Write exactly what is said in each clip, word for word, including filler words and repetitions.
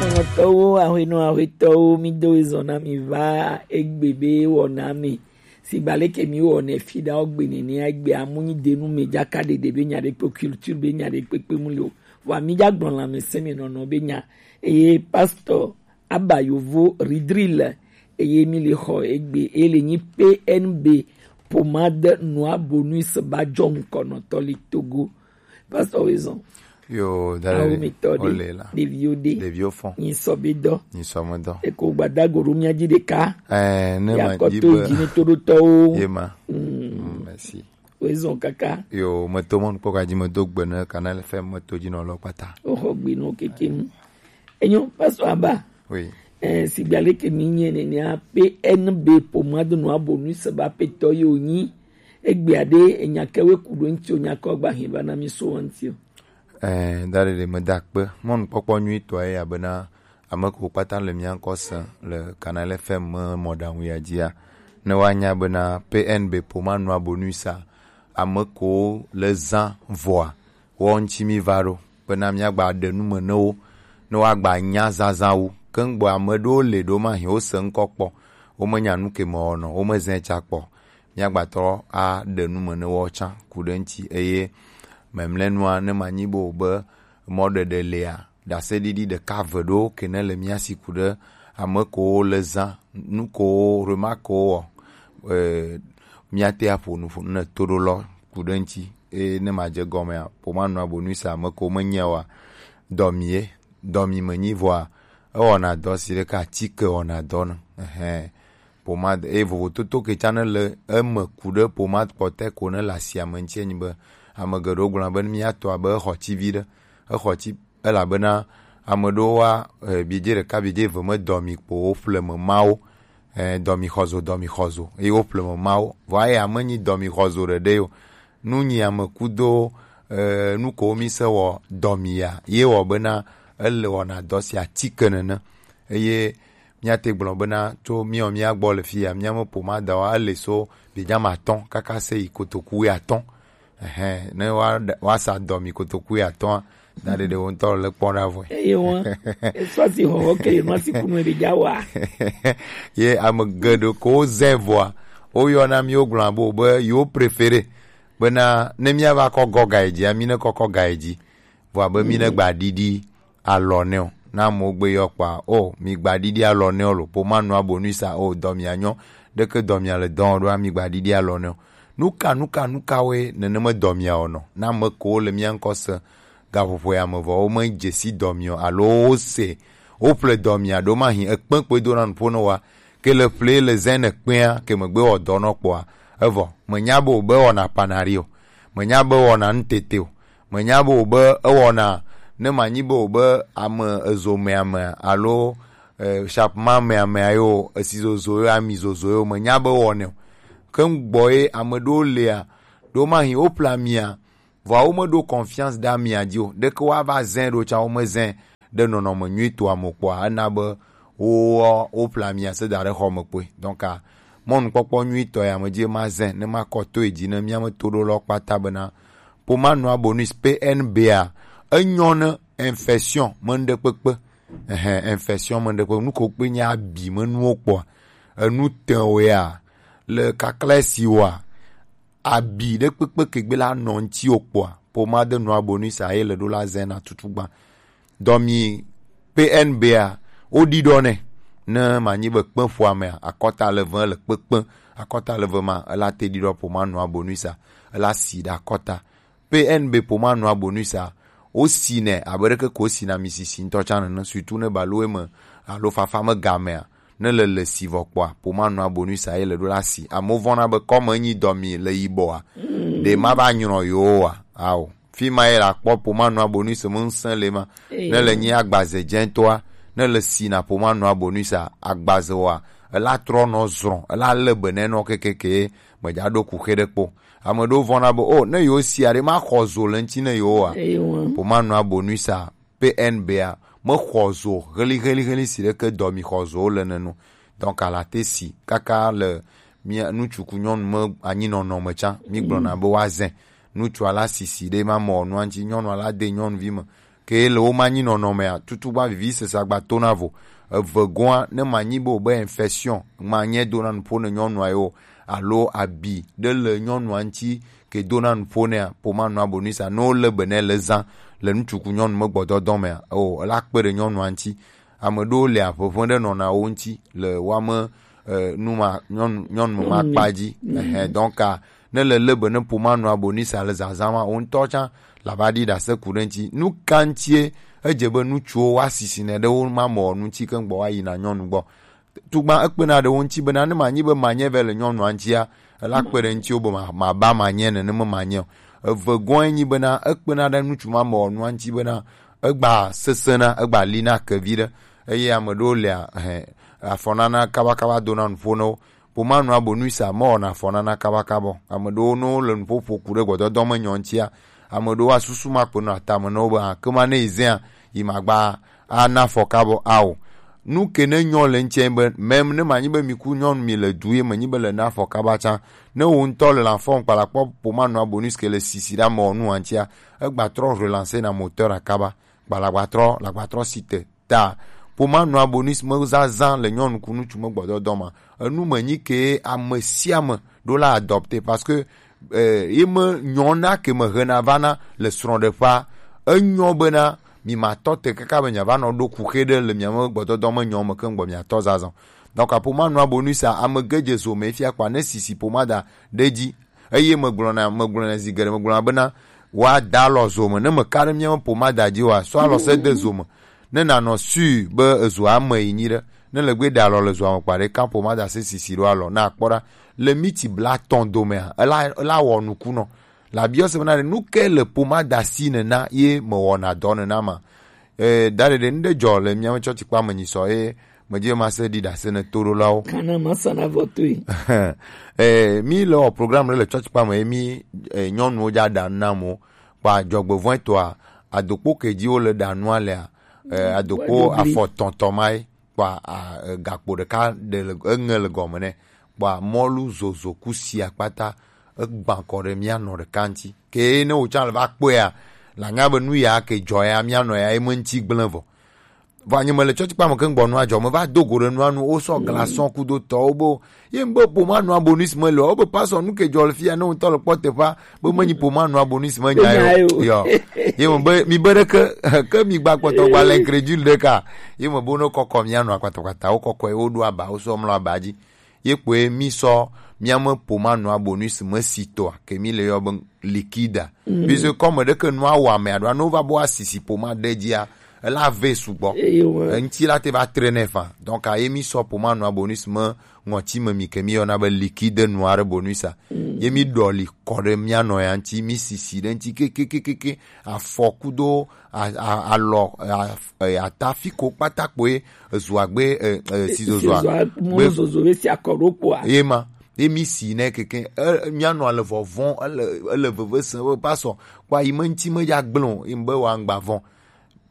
Nɔtɔwo, ahwenɔ, ahwetɔwo, mi do ezɔn na mi va egbe be wɔna mi. Sigba leke mi wɔnɛ fi ɖa wo gbe nene egbe amu nyi denu me jaka ɖeɖe be nya ɖe kpe culture be nya ɖe kpekpe mu le o. Vɔa mi ja gblɔ lãmesẽ me nɔnɔ be nya. Eye pastor Aba Yovo Ridril, eye mi le xɔ egbe, eye le nyi P N B pomade noir bonus ba jɔ ŋkɔnɔtɔ le Togo. Pastor Wezon. Yo, dale. Awo mi tɔ de. Ole la. Ɖeviwo de. Ɖeviwo fɔn. Nyi sɔ be dɔ. Nyi sɔ me dɔ. Eko gbadago ɖo mia ji ɖeka. Eh, ne ma yakɔ ji to be ji ne to ɖo tɔwo. Ye ma. Mm. Mm, merci. Wezon kaka. Yo, me to mɔnu kpɔ ka ji me do gbe ne Canal F M me to ji nɔ lɔ kpata. Oxɔ gbe nɔ keke nu. Enyo, pastor Aba. Oui. Eh, sigba leke mi nye nenea P N B pomade noir bonus ba petɔ yo nyi. Egbea ɖe enya ke we ku ɖo ŋuti o, nya ke gba hɛn va na mi so wa ŋuti o. Eh, da ɖeɖe me da kpe. Mɔnukpɔkpɔ nyuitɔ ye abena ame ko kpata le mia ŋkɔ se le Canal F M me mɔɖaŋu ya dzia. Ne woanya bena P N B pomade noir bonus a, ame ko le zã vɔa, wɔ ŋuti mi va ɖo, bena míagba ɖe nu me ne wo, ne woagba nya zazã wu. Ke ŋgbɔ ame ɖewo le ɖo mahi wo se ŋkɔ kpɔ, womenya nu ke me wɔnɔ, womezɛ tsa kpɔ. Míagba trɔ aɖe nu me ne wo tsã ku ɖe ŋuti, eye memlɛnua ne manyi bo be mɔɖeɖe lea, ɖaseɖiɖi ɖeka ve ɖewo ke ne le mía si ku ɖe ame kowo le zã, nu kowo, remarque wo wɔ, eh, míate aƒo nu ƒo ne to ɖo lɔ ku ɖe ŋuti. Eye ne madze gɔmea, pomade noir bonus ame ko menye wa, dɔmi ye, dɔmi menyi vɔa, ewɔna dɔ si ɖeka atike wɔna dɔ ne. Ɛhɛn. Pomade, eye vovototo ke tsã ne le eme ku ɖe pomade kpɔtɛ ko ne le asia me ŋuti enyi be, ame geɖewo gblɔna be ne míatɔ abe exɔ tsi vi ɖe, exɔ tsi, elabena ame ɖewo wa, eh, biedze ɖeka, biedze eve me dɔmi kpo wo ƒle me mawo, eh, dɔmi xɔzo, dɔmi xɔzo, eye wo ƒle me mawo. Vɔa ye ame nyi dɔmi xɔzo ɖeɖe yo. Nu nyi ame kudo, eh, nu ko mi se wɔ dɔmi ya, ye wɔ bena ele wɔna dɔ sia atike nene. Eye míate gblɔ bena tso míawo mía gbɔ le fi ya, míame pomadawoa, ele so biedze ame atɔ̃ kaka se yi kotoku wuiatɔ̃. Ɛhɛn, ne woa-, woasa dɔmi kotoku wuiatɔ̃a, da ɖeɖe wo ŋutɔ le kpɔ ɖa vɔe. Eye wɔn, esɔ si hɔhɔ ke ye nɔ si kunu ɖe dza wa. Ye ame geɖe ko wozɛ vɔa, woyɔna mí, wogblɔna be, be yewo préféré bena ne míava kɔ gɔ ga yi dzia, mí ne kɔkɔ ga yi dzi. Vɔa be mí ne gba ɖiɖi alɔ nɛ o. Na amewo gbe yɔ kpɔa, o, mi gba ɖiɖi alɔ nɛ o lo, pomade noir bonus a, o, dɔmia nyɔ, ɖeke dɔmia le dɔ ɖoa, mi gba ɖiɖi alɔ nɛ o. Nuka, nuka, nuka woe nenema dɔmia wɔnɔ? Na ame kewo le mía ŋkɔ se gaƒoƒo ya me vɔ, wome dze si dɔmi o, alo wose, woƒle dɔmia ɖo mahi ekpe kpoe dona nuƒo ne woa, ke le ƒle le zã ne kpea, ke megbe wɔ dɔ nɔ kpɔa, evɔ, menya be wòbe wɔna panari o, menya be wɔna nutete o, menya be wòbe ewɔna, ne manyi be wòbe ame ezo mea me alo, eh, shapma mea mea yo, esi zozo yo, ami zozo yo, menya be wɔnɛ o. Ke ŋgbɔ ye ame ɖewo lea, ɖo mahi woƒle amia, vɔa womeɖo confiance ɖe amia dzi o. Ɖeke woava zɛ ɖo tsã, womezɛ ɖe nɔnɔme nyuitɔa me kpɔa, ena be wo, woƒle amia se da ɖe xɔ me kpoe. Donc, a, mɔnukpɔkpɔ nyuitɔ ya me dzi ma zɛ ne makɔ to yi dzi ne mía me to ɖo lɔ kpata bena pomade noir bonus P N B a, enyɔ ne infection me ŋɖe kpekpe. Ɛhɛn, infection me ŋɖe kpekpe. Nu ko kpe nye abi me nuwo kpɔa, enu te wo ya, le kakla si wa, abi ɖe kpekpe ke gbe la nɔ ŋuti wo kpɔa, pomade noir bonus a ye le ɖo la zɛ na tutu gbã. Dɔmi P N B a, woɖiɖɔ nɛ. Ne manyi be kpe ƒo amea, akɔta le ve le kpekpe, akɔta le ve ma, ela te ɖiɖɔ pomade noir bonus a, ela si ɖe akɔta. P N B pomade noir bonus a, wosi nɛ abe ɖeke ko wosi na mi sisi ŋutɔ tsã nene, surtout ne balowe me alo fafa me gamea, ne le le si vɔ kpɔa, pomade noir bonus a ye le ɖo la si. Amewo vɔna be kɔme nyi dɔmi le yibɔa, ɖe ma va nyrɔ yewo wa? Ao. Fi ma ye la kpɔ pomade noir bonus me ŋusẽ le ma. Ne le nyi agbaze dzɛtɔa, ne le si na pomade noir bonus a, agbaze wa, ela trɔ nɔ zrɔn, ela le be nɛ nɔ kekeke, me dza ɖo kuxe ɖe kpo. Ame ɖewo vɔna be, o, ne yewo si aɖe ma xɔ zo le ŋuti ne yewo wa. Pomade noir bonus a, P N B a, mexɔ zo heli, heli, heli si ɖeke dɔ mi xɔ zo le nenu. Donc, ala te si kaka le mía ŋutsu ku nyɔnu me anyinɔnɔ me tsã, mí gblɔna be woazɛ. Ŋutsua la sisi ɖe ma mɔ nua ŋuti, nyɔnua la de nyɔnuvi me. Ok, Ke le wo ma nyi nɔnɔ mea, tutu gba vivi sesa gba to na vo. Eve goa, ne ma nyi be wo be infection, ma nye do na nuƒo ne nyɔnua yo, alo abi ɖe le nyɔnua ŋuti ke do na nuƒo nɛa, poma nua bonus a, ne wo le be ne le zã le ŋutsu ku nyɔnu me gbɔdɔdɔ mea, o, ela kpe ɖe nyɔnua ŋuti. Ame ɖewo le aƒeƒe ɖe nɔna wo ŋuti le woame, eh, nu ma, nyɔnu, nyɔnu ma kpa dzi. Ehɛ, donc, ah, ne le le be ne poma nua bonus a le zazã ma, wo ŋutɔ tsã la va ɖi ɖase ku ɖe ŋuti. Nu ka ŋutie edze be ŋutsuwo woasisi ne ɖe wo ma me wɔ nu ŋuti keŋ gbɔ woayina nyɔnu gbɔ? Tugba ekpena ɖe wo ŋuti bena ne manyi be manye vɛ le nyɔnua ŋutia, ela kpe ɖe ŋutiwo be ma-, maba manye nene me manye o. Eve gɔ̃e nyi bena ekpena ɖe ŋutsu ma me wɔ nua ŋuti bena egba sesẽna, egba lina kevi ɖe. Eye ame ɖewo lia, hɛ, afɔnana kabakaba dona nuƒo na wo. Poma nua bonus a mewɔna afɔnana kabakaba o. Ame ɖewo ne wole nuƒo ƒo ku ɖe gbɔdɔdɔ me nyɔ ŋutia, ame ɖewo asusu ma kpe nɔ atame na wo be, ah, ke ma ne yi zẽa, yi magba ana afɔkaba o. Ao. Nu ke ne nyɔ le ŋutia be, même ne manyi be mi ku nyɔnu mi le du ye menyi be le na afɔkaba tsã, ne wo ŋutɔ le la fɔm kpala kpɔ poma nua bonus ke le sisi ɖa me wɔ nua ŋutia, egba trɔ relancer na moteur akaba, kpala gba trɔ, la gba trɔ si te. Ta poma nua bonus me zazã le nyɔnu ku ŋutsu me gbɔdɔdɔ ma. Enu me nyi ke ame sia ame ɖo la adopter parce que, eh, ye me nyɔna ke me hena vana le srɔ̃ɖeƒea. Enyɔ bena mi ma tɔ te kaka be mia va nɔ ɖo kuxe ɖe le mia me gbɔdɔdɔ me nyɔ me keŋ gbɔ mia tɔ zazã. Donc, poma nua bonus a ame ge dze zo me fia kpa ne sisi pomada ɖe dzi. Eye megblɔna, megblɔna zi geɖe, megblɔna bena, woada alɔ zo me. Ne meka ɖe míaƒe pomada dzi oa, sɔ alɔ se de zo me. Ne nanɔ sûr be ezoa ame yi nyi ɖe. Ne le gbe ɖe alɔ le zoa me kpa ɖe, kan pomada se sisi ɖo alɔ. Na akpɔ ɖa. Le miti blatɔn domea, ela, ela wɔ nuku nɔ. La biɔ se bena, nu ke le pomada si nena ye mewɔna dɔ nena ma? Eh, da ɖeɖe, nu ɖe dzɔ le míaƒe tsɔtsikpa me nyi sɔ ye medzi be mase ɖi ɖase ne toɖolawo. Kana masa na vɔ toe. Eh, mi le wɔ programme ɖe le tsɔtsikpa me ye mi, eh, nyɔnuwo dza ɖa nu na amewo. Kpa dzɔgbevɔ̃e tɔa, adokpo ke dzi wole ɖa nua lea, eh, adokpo afɔ tɔntɔ ma ye. Kpa, a, eh, gakpo ɖeka ɖe le, eŋe le gɔme nɛ. Kpa mɔlu zozo kusi akpata, egbã kɔ ɖe mía nɔ ɖeka ŋuti. Ke ne wò tsã le va kpɔea, la nya be nu ya ke dzɔ ya, mía nɔ ya, ye me ŋuti gblẽ vɔ. Vɔ nye mele tsɔtsikpa me keŋ gbɔ nua dzɔ, me va do go ɖe nua nu, wosɔ glaçon kudo tɔwo be, ye ŋgbe ƒo ma nua bonus me le, wobe pasɔ nu ke dzɔ le fia, ne ŋutɔ le kpɔ teƒea, be menyi ƒo ma nua bonus me nya yo. Ye me be, mi be ɖe ke, ke mi gba kpɔtɔ gba le incrédule ɖe ka, ye me be ne kɔkɔ mía nua kpata kpata, wo kɔkɔe, wo ɖo aba, wo sɔ mlɔ aba dzi. Ye kpoe mi sɔ mía me poma nua bonus me si tɔa, ke mi le yɔ be liquide. Puisque comme ɖeke nua wɔ ame aɖo, ne wova be woasisi poma ɖe dzia, ela ve sugbɔ. Eŋti la te va tre nɛ fa. Donc, a ye mi sɔ poma nua bonus me ŋɔti me mi ke mi yɔna be liquide noir bonus a. Ye mi ɖɔli kɔ ɖe mía nɔ ya ŋti, mi sisi ɖe ŋti ke, ke, ke, ke, ke. Afɔ kudo a, a, alɔ, a, e, ata fi ko kpata kpoe ezu agbe, e, e, sizozoa. Sizozoa, gbe mɔ zozo be si akɔ ɖo kpoa. Ye ma, ye mi si nɛ keke, e, mía nɔ le vɔvɔ̃, ele, ele veve se be pasɔ, kpa yi me ŋti me dza gblẽ o, yi be wa ŋgba vɔ̃.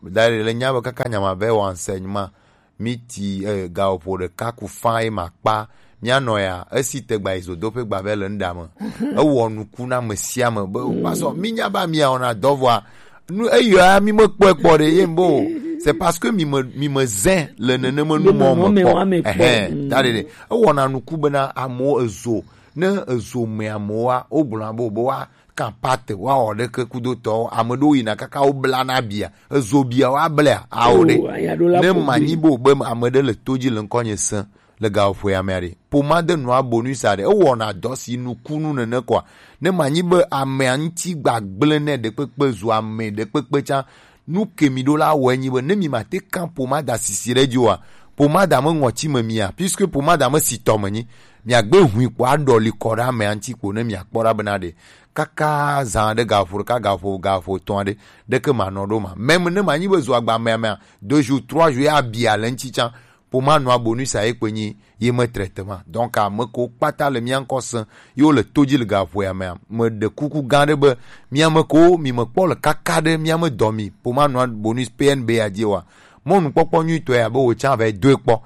Da ɖe le nya be kaka nya ma be wa enseignement, mi ti, eh, gaƒoƒo ɖeka ku fã ye ma kpa. Mía nɔ ya, esi te gba yi zodoƒe gba vɛ le ŋɖa me. Ewɔ nuku na ame sia ame be, pasɔ, mi nya ba mi awɔna dɔ vɔa. Nu eyɔa mi me kpɔe kpɔ ɖe, ye bo. C'est parce que mi me, mi me zẽ le nenema nu mɔ me kpɔ. Ehɛn, da ɖe ɖe. Ewɔna nuku bena amewo ezo. Ne ezo me amewoa, wo gblɔna be, be wa kan pate, woawɔ ɖeke kudotɔwo, ame ɖewo yina kaka wo bla na bia, ezo bia woablea, ao ɖe. Oh, anya ɖo la ne ƒo manyi gbe. Bo be ame ɖe le to dzi le ŋkɔnye sẽ le gaƒoƒoea mea ɖe. Poma de nua bonus a ɖe, ewɔna dɔ si nukunu nene kɔa, ne manyi be amea ŋuti gbagblẽ nɛ ɖekpekpe zu ame ɖekpekpe tsã, nu ke mi ɖo la wɔe nyi be ne mi ma te kan pomada sisi ɖe dzi oa, pomada me ŋɔti me mia, puisque pomada me si tɔ me nyi, miagbe hui kpo aɖɔli kɔ ɖe amea ŋuti kpo ne miakpɔ ɖa bena ɖe kaka zã ɖe gaƒo ɖeka, gaƒo, gaƒo etɔ̃ aɖe, ɖeke manɔ ɖo ma. Même ne manyi be zo agba mea mea, deux jours, trois jours, ya bia le ŋuti tsã, poma nua bonus a ye kpe nyi ye me traitement. Donc, ame ko kpata le mía ŋkɔ sẽ, ye wo le to dzi le gaƒoƒoea mea, me ɖe kuku gã ɖe be, mía me ko mi me kpɔ le kaka ɖe mía me dɔ mi, poma nua bonus P N B a dzi wa. Mɔnukpɔkpɔ nyuitɔe abe wò tsã va doe kpɔ.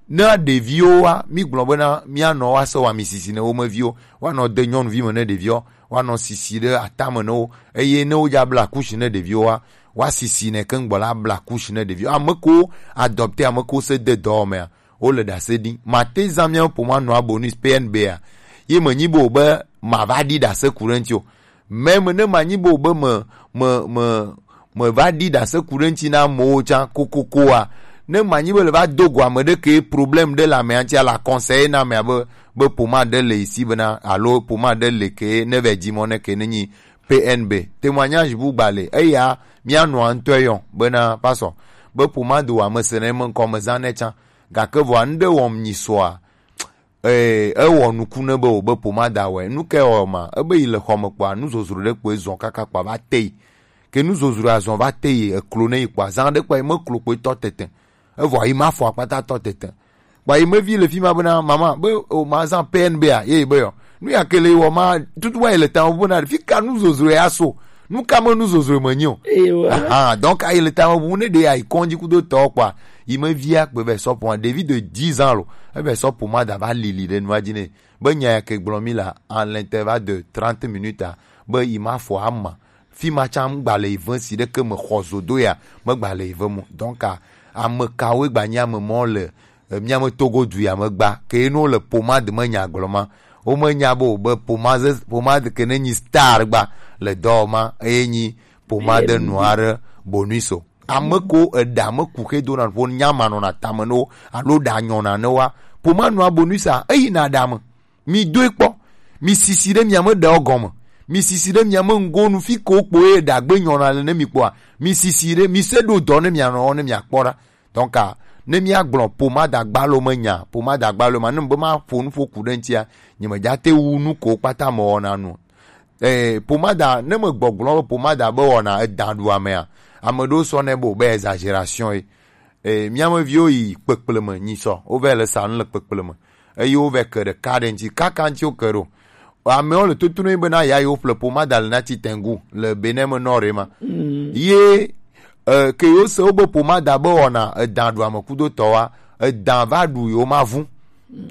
Ne ɖeviwo wa, mi gblɔ bena mía nɔ wa se wa mi sisi ne wo me viwo, wa nɔ de nyɔnuvi me ne ɖeviwo, wa nɔ sisi ɖe atame ne wo, eye ne wo dza bla kusi ne ɖeviwo wa, Wa sisi ne keŋ gbɔ la bla couche ne ɖevi. Ame ko adopter, ame ko se de dɔ me a, wo le ɖase ɖi. Ma te zã mia pomade nua bonus P N B a. Ye me nyi bo be ma va ɖi ɖase ku ɖe ŋti o. Mɛ me ne ma nyi bo be me, me, me, me va ɖi ɖase ku ɖe ŋti na amewo tsã kokoko a. Ne ma nyi be le va do go ame ɖe ke problème ɖe le amea ŋti a, la conseiller na amea be, be pomade ɖe le ici bena, alo pomade ɖe le ke ne va dzi mɔ ne ke ne nyi P N B. Témoignage bu gba le. Eya, mia nɔa ŋutɔ yɔ, bena, pasɔ, be pomade wa me se ne me ŋkɔ me zã ne tsã. Gake vɔa, ŋɖe wɔm nyi sɔa, eh, ewɔ nuku ne be o be pomada wɔe. Nu ke wɔ ma, ebe yi le xɔ me kpɔa, nu zozro ɖe kpoe zɔ kaka kpɔa va te yi. Ke nu zozro azɔ va te yi, eklo ne yi kpɔa, zã ɖe kpɔa, yi me klo kpoe tɔ tete. Evɔ yi ma fɔ akpata tɔ tete. Kpɔa yi me vi le fi ma bena, mama, be o ma zã P N B a, ye yi be yɔ. Nu ya ke le wɔ ma, tutu wa yi le tame bena, fi ka nu zozro ya so. Nu ka me nu zozro me nyi o. Ewa. Aha, donc ayi le tame bu ne ɖe ayi kɔndzi kudo tɔ kpɔa, yi me via kpe be sɔ pomade, ɖevi de dix ans lo, ebe sɔ pomade va lili ɖe nua dzi ne. Be nya ya ke gblɔ mi la, en l'intervalle de trente minutes a, be yi ma fɔ ama. Fi ma tsã ŋgba le yi ve si ɖeke me xɔ zodo ya, megba le yi ve mo. Donc a, ame kawoe gba nyi ame mɔ le e, mía me Togo du ya me gba, ke ye ne wole pomade me nya gblɔ ma, womenya be wòbe pomade, pomade ke ne nyi star gba le dɔ ma, eye nyi pomade nua ɖe bonus o. Ame ko eɖa me ku xe dona ƒo nya ma nɔna tame ne wo, alo ɖa nyɔna ne woa, pomade nua bonus a, eyina ɖa me. Mi doe kpɔ. Mi sisi ɖe mia me ɖewo gɔme. Mi sisi ɖe mia me ŋgonu fi ko kpo ye ɖagbe nyɔna le ne mi kpɔa. Mi sisi ɖe, mi se ɖo dɔ ne mia nɔ ne mia kpɔ ɖa. Donc, a, ne mia gblɔ pomada gbalo me nya, pomada gbalo ma, ne be ma ƒo nu ƒo ku ɖe ŋutia, nye me dza te wu nu ko kpata me wɔna nu. Eh, pomada, ne me gbɔgblɔ be pomada be wɔna edan ɖu amea, ame ɖewo sɔ ne be o be exagération ye. Eh, mía me viwo yi kpekple me, nyi sɔ, wo vɛ le sa nu le kpekple me. Eye wo vɛ ke ɖeka ɖe ŋuti, kaka ŋuti wo ke ɖo. Amewo le totro bena ya yewo ƒle pomada le na ti tengu le Benin me nɔ ɖe ma. Mm. Ye, eh, ke yewo se wobe pomada be wɔna edan ɖu ame kudo tɔwa, edan va ɖu yewo ma vu.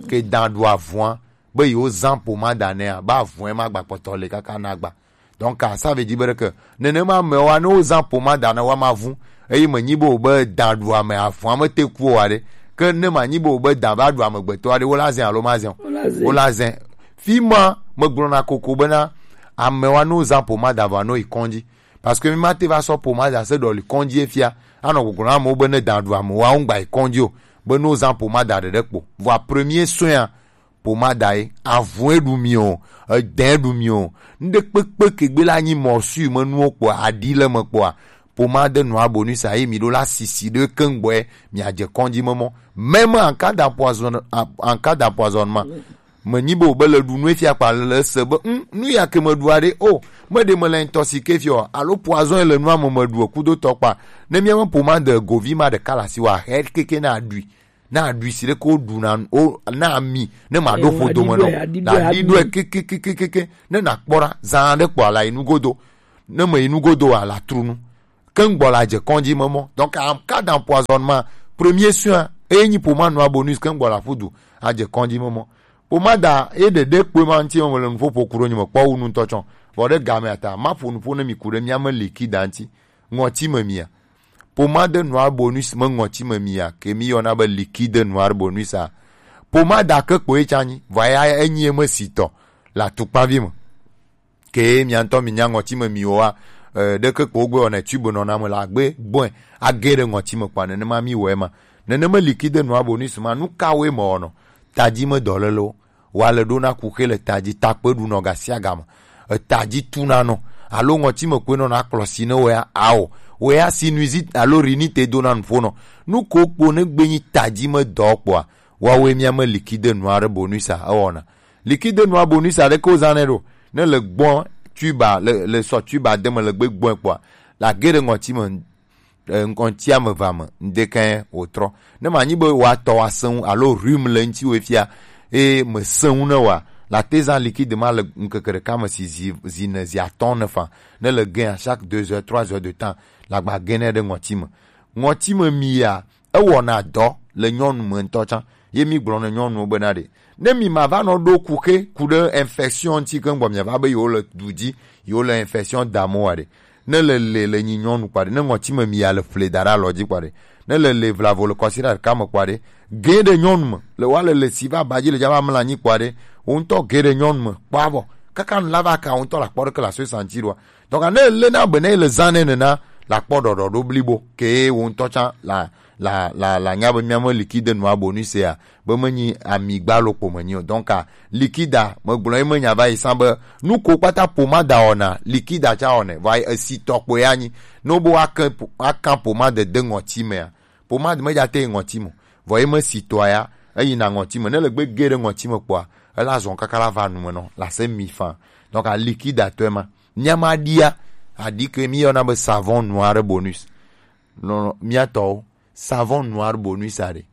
Ke dan ɖu avua, be yewo zã pomada nɛa, be avɔe ma gba kpɔtɔ le kaka na gba. Donc, ça veut dire be ɖeke, nenema amewoa, ne wozã pomada na woa ma vu, eye menyi be wobe dan ɖu ame, avɔa me te ku o aɖe. Ke ne manyi be wobe dan va ɖu amegbetɔ aɖe, wola zɛ alo ma zɛ o? Wola zɛ. Wola zɛ. Fi ma, megblɔna koko bena, amewoa, ne wozã pomada vɔa, ne woyi kɔndzi. Parce que mi ma te va sɔ pomada se ɖɔli kɔndzi efia, anɔ gbɔgblɔ na amewo be ne dan ɖu ame, woa, wogba yi kɔndzi o, be ne wozã pomada ɖeɖe kpo. Vɔa premier soin a, pomada ye, avɔe ɖu mi o, edɛ ɖu mi o, ŋɖe kpekpe ke gbe la nyi mɔsui me nuwo kpɔa, aɖi le me kpɔa, pomade nua bonus a ye mi ɖo la sisi ɖe keŋ gbɔe, mi adze kɔndzi me mɔ. Même en cas d'empoison-, en cas d'empoisonnement. Menyi be wobe le ɖu nu efia kpa le se be, mm, nu ya ke me ɖua ɖe, o, me ɖe me le intoxiqué fia o, alo poison le nua me me ɖu o kudo tɔ kpa. Ne mia me pomade govi ma ɖeka la si wa, he keke na aɖui. Na aɖui si ɖe ko ɖu na o, na ami, ne ma ɖo ƒo dome nɔ. Aɖi ɖɔe kekekekeke, ne na kpɔ ɖa, zã ɖe kpɔ ala yi nugodo. Ne me yi nugodo ala tru nu. Keŋgbɔ la dze kɔndzi me mɔ. Donc, en cas d'empoisonnement, premier soin, eye nyi pomade nua bonus, keŋgbɔ la ƒu du, adze kɔndzi me mɔ. Pomada, ye ɖeɖe kpoe ma ŋuti me le nuƒo ƒo ku ɖo nye me kpɔ wu nu ŋutɔ tsɔ. Vɔ ɖe game ata, ma ƒo nuƒo ne mi ku ɖe mia me liquide ŋuti. Ŋɔti me mia. Pomade noir bonus me ŋɔti me mia, ke mi yɔna be liquide noir bonus a. Pomada ke kpoe tsa nyi, vɔ ya enyi eme si tɔ, la tukpavi me. Ke mia ŋutɔ mi nya ŋɔti me mi wa, eh, ɖeke kpo gbe wɔna tube nɔna me la gbe gbɔe, age ɖe ŋɔti me kpa nenema mi wɔe ma. Nenema liquide noir bonus ma, nu kawoe me wɔnɔ? Tadzi me dɔlelewo. Wa le ɖo na kuxe le tadzi, takpe ɖunɔ gasiagame. Etadzi tuna nɔ. Alo ŋɔti me koe nɔna kplɔ si ne wea, ao. Wea sinusite alo rhinite dona nuƒo nɔ. Nu ko kpo ne gbe nyi tadzi me dɔ kpoa, woawoe mia me liquide noir bonus a ewɔna. Liquide noir bonus aɖeke wozãnɛ ɖo. Ne le gbɔ tuba, le, le sɔ tuba de me le gbe gbɔe kpoa, la ge ɖe ŋɔti me, eh, ŋɔti ame eve ame, ŋdekɛ wòtrɔ. Ne manyi be woatɔ woasẽ ŋu alo rhume le ŋuti wò fia, eye mesẽ ŋu ne wòa, la te zã liquide ma le ŋkeke ɖeka me si zi, zi ne, zi atɔ̃ ne fã. Ne le gea, chaque deux heures, trois heures de temps, la gba ge nɛ ɖe ŋɔti me. Ŋɔti me mi ya, ewɔna dɔ le nyɔnu me ŋutɔ tsã. Ye mi gblɔ ne nyɔnuwo bena ɖe, ne mi ma va nɔ ɖo kuxe ku ɖe infection ŋuti keŋ gbɔ miava be yewo le du dzi, yewo le infection dam wa ɖe. Ne le le le nyi nyɔnu kpaɖe, ne ŋɔtime mi ya le ƒle da ɖe alɔ dzi kpaɖe, ne le le vlavo le kɔsi ɖe ɖeka me kpaɖe, ge ɖe nyɔnu me le wa le le si va ba dzi le dza va mla anyi kpaɖe, wo ŋutɔ ge ɖe nyɔnu me kpɔ avɔ kaka nu la va ka wo ŋutɔ la kpɔ ɖeke la so santi ɖoa. Donc ne le na be ne le zã ne nena la kpɔ ɖɔɖɔ ɖo blibo ke wo ŋutɔ tsã la la la la nya be mia me likide nua bonu sea be menyi amigba lo kpo menyi o. Donc a likida megblɔ ye menya va yi san be nu ko kpata pomada wɔna likida tsa wɔnɛ va yi esi tɔ kpo ya nyi. No bo akan akan pomade de ŋɔti mea pomade me dza te yi ŋɔti mo vɔ ye me si tɔa ya eyi na ŋɔti me ne le gbe ge ɖe ŋɔti me kpoa ela zɔn kaka la va nu me nɔ la se mi fan. Donc a likida tɔe ma mia ma ɖia aɖi ke mi yɔna be savon noir bonus. Non, non, mia tɔwo savon noir bonus aɖe.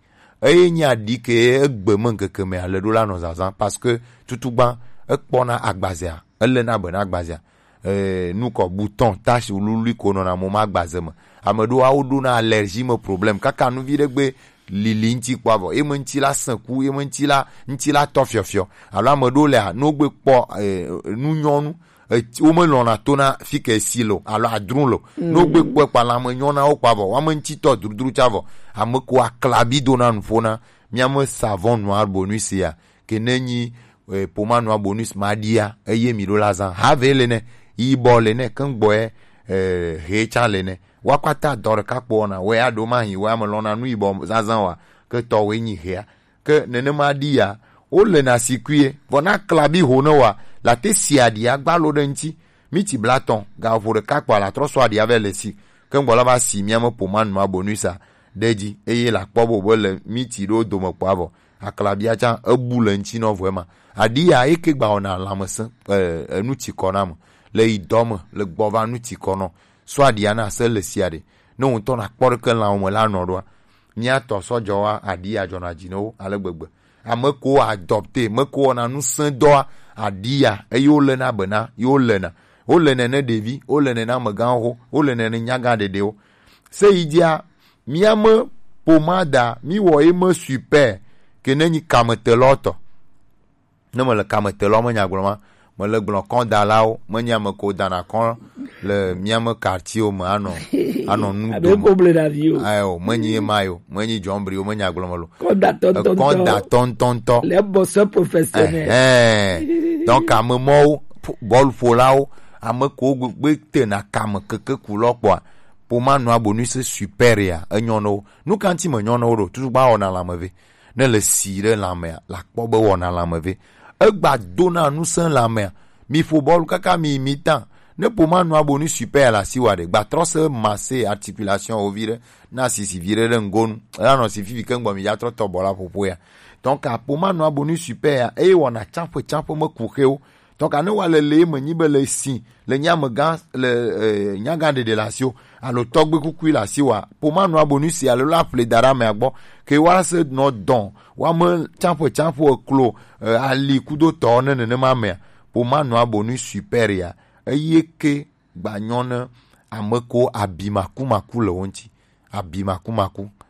Eye nyi aɖi ke egbe me ŋkeke me ale ɖo la nɔ zazã parce que tutugba ekpɔna agbazea, ele na be na agbazea. Eh, nukɔ bouton tache lului ko nɔna mo ma agbaze me. Ame ɖewo awo ɖona allergie me problème kaka nuvi ɖe gbe lili ŋti kpɔ avɔ eme ŋti la sẽku eme ŋti la ŋti la tɔ fiɔfiɔ alo ame ɖewo lea no gbe kpɔ eh, nu nyɔnu. Eti- womelɔna to na fi ke si lo alo adru lo. No gbe kpɔe kpa lãme nyɔ na wo kpa vɔ wame ŋtitɔ drudru tsa vɔ. Ame ko aklabi do na nuƒo na miame savon noir bonus ya ke ne nyi eh, poma noir bonus ma ɖia eye mi ɖo la zã have le ne yibɔ le ne kengboe eh, he tsa le ne wa kpata dɔ ɖeka kpɔ na we aɖo ma hi we ame lɔna nu yibɔ zazã wa ke tɔ we nyi hea. Ke nenema ɖi ya, wolena sikuie, vɔ na klabi ho ne wa, la te si aɖi agba lo ɖe ŋti. Miti blatɔn, ga vo ɖeka kpa la trɔ sɔ aɖi ave le si. Ke ŋgbɔ la va si mia me poma nua bonusa ɖe dzi, eye la kpɔ bo be le miti ɖo dome kpɔ avɔ. Aklabia tsã ebu le ŋti nɔ vɔ ema. Aɖi ya eke gba wɔna lãmesẽ, eh, enu tsi kɔ na me. Le yi dɔ me, le gbɔ va nu tsi kɔ nɔ. Sɔ aɖia na se le si aɖe. Ne ŋutɔ na kpɔ ɖeke lãwo me la nɔ ɖoa. Mía tɔ sɔ dzɔ wa aɖi adzɔna dzi ne wo ale gbegbe. Ame ko adopte, me ko wɔna ŋusẽ dɔa aɖi ya eye wo lena be na ye wo lena. Wo lena ne ɖevi, wo lena ne amegãwo, wo lena ne nyagã ɖeɖewo. Se yi dzia mía me pomada mi wɔ ye me super ke ne nyi kametelɔ tɔ. Ne mele kame te lɔ menya gblɔ ma mele gblɔ kɔn dalawo menye ame ko dana kɔn le miame quartier me anɔ anɔ nu abe dome ko ble ɖavi o ayo menye ye ma yo menye jɔnbri o menya gblɔ me lo kɔn da tɔntɔntɔ kɔn da tɔntɔntɔ le bɔsɔ professionnel ɛhɛn donc ame mɔwo bɔlu ƒolawo ame ko gbe tena kame keke ku lɔ kpɔa poma nua bonus super ya enyɔ no nu kanti me nyɔ no do tutu gba wɔna lame ve ne le si ɖe lãmea la kpɔ be wɔna lãme ve egba dona ŋusẽ lãmea mi ƒo bɔlu kaka mi mi ta ne ƒo ma nua bo nu super la si wa ɖe gba trɔ se masse articulation o vi ɖe na sisi vi ɖe ɖe ŋgonu la nɔ si fifi ke ŋgbɔ mi ya trɔ tɔ bɔ la ƒoƒo ya donc a ƒo ma nua bo nu super ya eye wɔna tsaƒe tsaƒe me ku xewo Donc ane wa le le me nyi be le si le nye amegã le eh, nyagã ɖeɖe le asi o alo tɔgbe kukui le asi wa poma nua bo nu si alo la ƒle da ɖe amea gbɔ ke wa se nɔ dɔn wa me tsamƒe tsamƒe eklo eh, ali kudo tɔ ne nenema mea poma nua bo nu super ya eye ke gba nyɔ ne ame ko abi maku maku le wo ŋuti abi maku maku